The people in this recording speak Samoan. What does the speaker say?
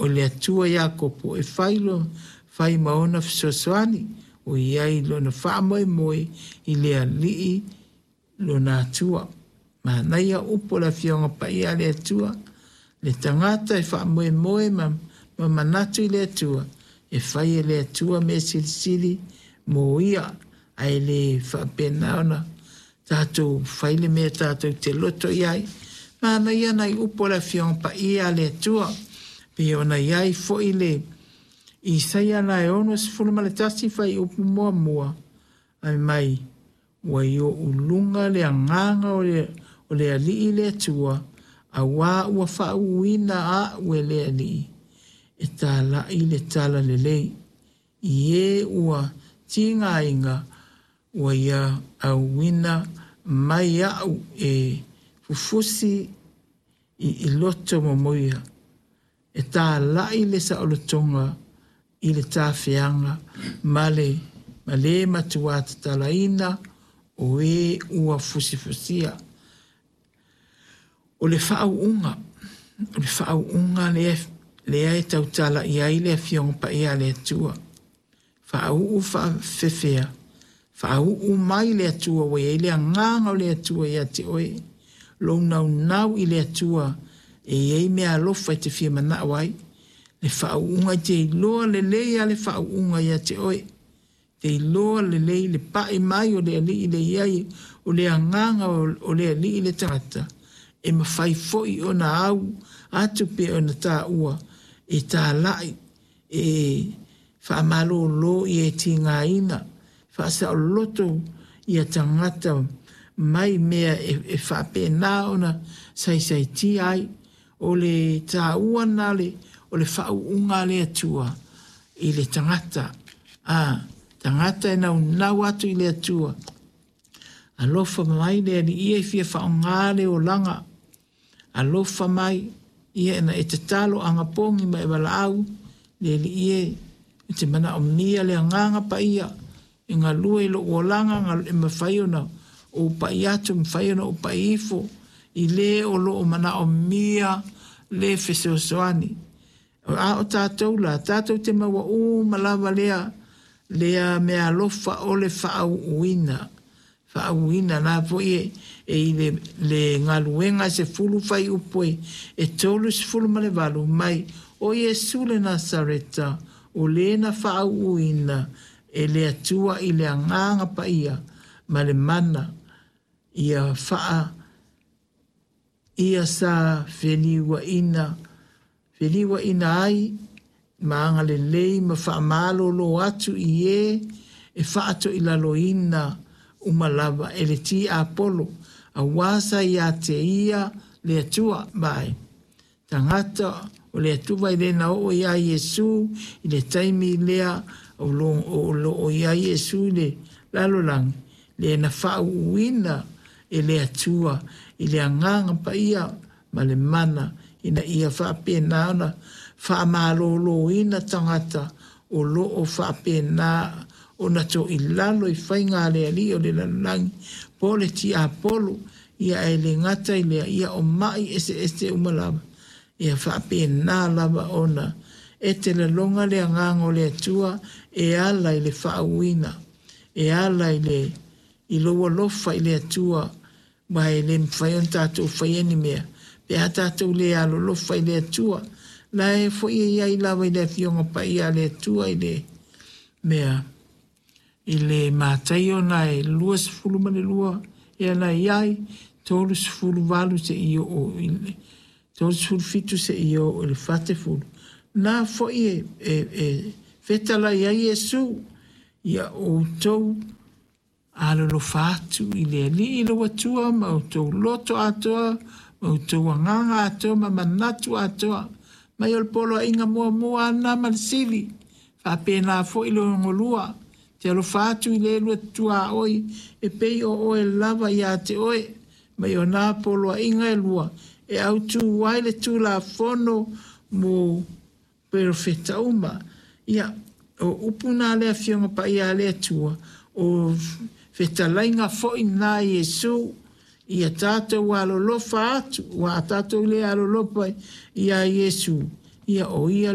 le Atua Iakopo e fai lo fai ma ona fesoasoani, o i ai lona faamoemoe i le Alii lona Atua. Manaia upu o le Afioga Paia a le Atua, le tagata e faamoemoe ma, ma manatu i le Atua, e fai e le Atua mea silisili mo ia, ae le faapena ona tatou fai le mea tatou te loto i ai. Manaia nai upu o le Afioga Paia a le Atua, pei ona i ai foi le Isaia la e 61 fuaiupu muamua, fai mai, Ua i ou luga le agaga o le, o le Alii le Atua, auā ua faauuina a'u e le Alii, e tāla'i le tala lelei. I ē ua tigaina, ua ia auina mai a'u e fufusi i i loto momoia, e tāla'i le saolotoga i le tafeaga ma le ma le matuā tatalaina o ē ua fusifusia. O le faauuga, o le faauuga lea, lea e tautala i ai le Afioga Paia a le Atua. Faauu faafefea, faauu mai le Atua ua i ai le agaga o le Atua ia te oe. Lou naunau i le Atua e i ai mea alofa e te fia manao ai. Le faauuga e te iloa lelei a le faauuga ia te oe. Te iloa lelei le pai mai o le Alii le i ai o le agaga o le Alii le tagata, e mafai foi ona au atu pe ona taua e tāla'i, e faamalōlō ia e tigaina, faasaoloto ia tagata mai mea e, e faapena ona saisaitia ai. O le taua na le, o le faauuga a le Atua i le tagata. A, tagata e naunau atu i le Atua. Alofa mai le Alii ia e fia faaaoga le olaga. Alofa mai ia ina e tatalo agapogi ma e valaau le Alii e, ou te manaomia le agaga paia e galue i lou olaga e mafai ona ou pai atu, mafai ona ou pai ifo i le o lo o manaomia le fesoasoani. A o tatou la, tatou te maua uma lava lea, lea meaalofa o le faauuina. Faauuina la foi e, e i le, le galuega e 10 fuaiupu e, e 38 mai o Iesu le Nasareta, o le na faauuina e le Atua i le agaga paia ma le mana ia faa ia sa feliuaina feliuaina ai ma agalelei ma faamalōlō atu i ē e faatoilaloina uma lava e le tiapolo, auā sa iā te ia le Atua. Vaai, tagata o le Atua e le na oo iā Iesū i le taimi lea o lo o lo o iā Iesū i le lalolagi, lea na faauuina e le Atua i le Agaga Paia ma le mana ina ia faapena ona faamalōlōina tagata o lo o faapena ona toilalo i faiga a le Alii o le lalolagi po o le tiapolo, ia ae le gata i lea, ia o mai eseese uma lava, ia faapena lava ona e te laloga le agaga o le Atua e ala i le faauuina, e ala i le i lou alofa i le Atua, aua e le mafai ona tatou faia ni mea pe a tatou le alolofa i le Atua. La e foi e i ai lava i le Afioga Paia a le Atua i le mea i le Mataio na e 22 ea na i ai, 38 seia oo i le 37 seia oo i le 40. Na foi e, e, e fetalai ai Iesu, ia outou Alolofa atu i le Alii lou Atua ma outou loto atoa, ma outou agaga atoa ma manatu atoa. Mai o le poloaiga muamua ana ma le sili, faapena foi le onolua, te alofa atu i le lua tuaoi e pei o oe lava iā te oe. Mai o nā poloaiga e lua e autū ai le Tulafono mo Perofeta uma. Ia, o upu na a le Afioga Paia a le Atua, o fetalaiga foi na Iesu, ia tatou alolofa atu, ua a tatou le alolofa iā Iesu, ia o ia.